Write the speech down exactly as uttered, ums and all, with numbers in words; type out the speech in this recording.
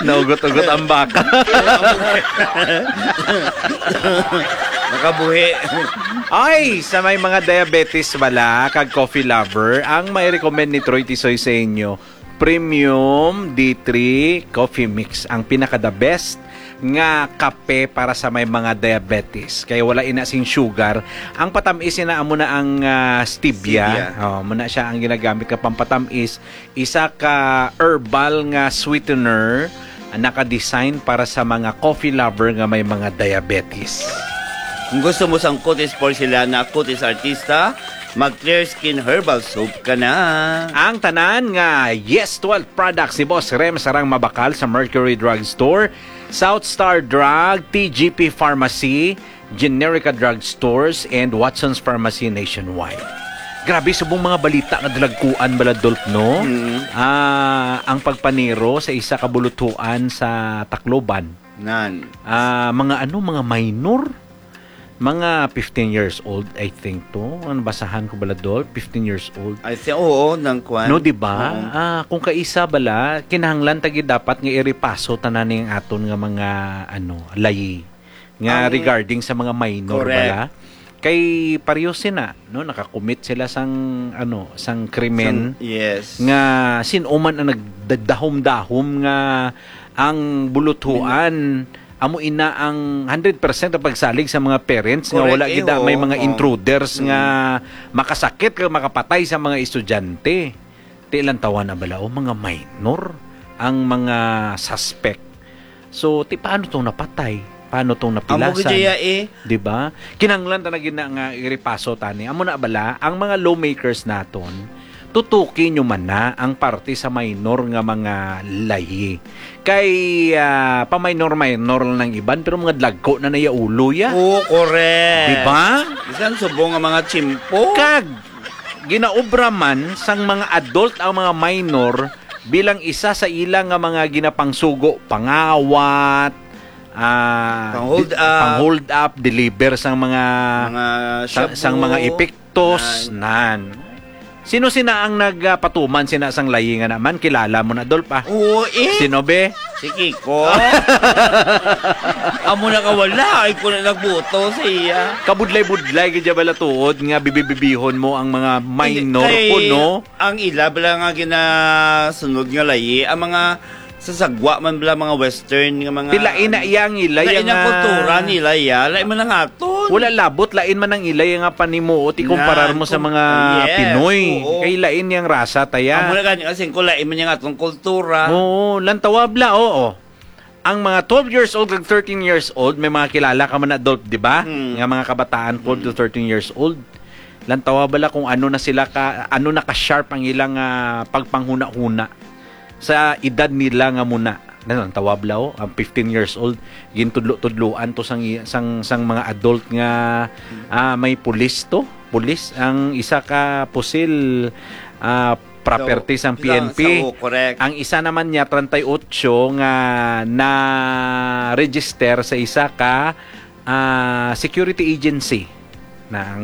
Naugot-ugot ang baka. Nakabuhi. Ay, sa may mga diabetes bala kag coffee lover, ang may recommend ni Troy Tisoy sa inyo, Premium D three Coffee Mix, ang pinaka the best nga kape para sa may mga diabetes. Kay wala ina sing sugar. Ang patamis ina amo na ang, ah, stevia. Stevia. Oh, amo na siya ang ginagamit nga pampatamis. Isa ka herbal nga sweetener, ah, naka-design para sa mga coffee lover nga may mga diabetes. Kung gusto mo sang kutis porcelana, kutis artista, mag Clear Skin Herbal Soap ka na. Ang tanan nga Yes twelve products ni Boss Rem sarang mabakal sa Mercury Drug Store, South Star Drug, T G P Pharmacy, Generica Drug Stores, and Watson's Pharmacy nationwide. Grabe, subong mga balita nga dalagkuan, Baladolf, no? Mm. Ah, ang pagpanero sa isa ka buluthuan sa Tacloban. Nan. Ah, mga ano, mga minor? Mga fifteen years old, I think, to. Ang basahan ko, Baladolf, fifteen years old. I think, oo, nang kwan. No, di ba? Oo. Ah, kung kaisa bala, kinahanglan ta gid dapat nga irepaso tanan ning aton nga mga, ano, layi nga Ang regarding sa mga minor Correct. bala. Kay pareho sina, no, nakakumit sila sang, ano, sang krimen Sang, yes. nga sin-o man ang nagdadahom-dahom nga ang buluthuan amo ina ang hundred percent ang pagsalig sa mga parents nga Correct, wala eh, gid na may oo, mga oo. intruders nga Mm. makasakit kag makapatay sa mga estudyante. Ti lantawan na bala, o, mga minor ang mga suspect. So, ti paano tong napatay? Paano tong Amo napilasan? gid ya, eh. Di ba? Kinahanglan ta na gid na nga irepaso tani. Amo na bala, ang mga lawmakers naton, tutuki nyo man na ang parte sa minor nga mga layi. Kay, ah, pa-minor-minor lang ng iban, pero mga dlagko na naya ulo ya. Oo, correct. Di ba? Bisan subong nga mga tsimpo. Kag, ginaobra man sang mga adult ang mga minor bilang isa sa ila nga mga ginapangsugo, pangawat, ah, Pang-hold di-, up. pang-hold up, deliver sang mga Mga sa-, shabu. sang mga epektos, Nan. nan. Sino sina ang nagpatuman sina sang layi nga naman? Kilala mo na, Dolph, ah? Oo, eh. Sino, be? Si Kiko. Amo na ka wala, ay ko na nagbuto sa iya. Kabudlay-budlay gid bala tuod nga bibibibihon mo ang mga minor Hindi, kay kuno. Ang ila bala nga ginasunod nga layi, ang mga sasagwa man bala, mga western nga mga Ti lain na iya ang ila, lain iya ang nga kultura nila, iya. Lain man ang aton. Wala labot, lain man ang ila iya nga panimuot, ikumparar Nan, mo sa kung mga yes, Pinoy. oo. Kay lain yang rasa, taya. Amo na gani, kasi kung lain man yang atong kultura. Oo, lantawa bala, oo. Ang mga twelve years old kag thirteen years old, may mga kilala ka man, Adolf, di ba? Mm. Nga mga kabataan, twelve to Mm. thirteen years old. Lantawa bala kung ano na sila ka, ano na ka-sharp ang ilang, ah, pagpanghuna-huna sa edad nila nga muna. Lantawa bala, oh, ang fifteen years old, gintudlo-tudloan to sang, sang, sang mga adult nga, ah, may pulis to. Pulis, ang isa ka pusil, ah, property So, sang P N P. sa, sa, oh, correct. Ang isa naman niya, treinta y ocho, nga na-register sa isa ka, ah, security agency. Na ang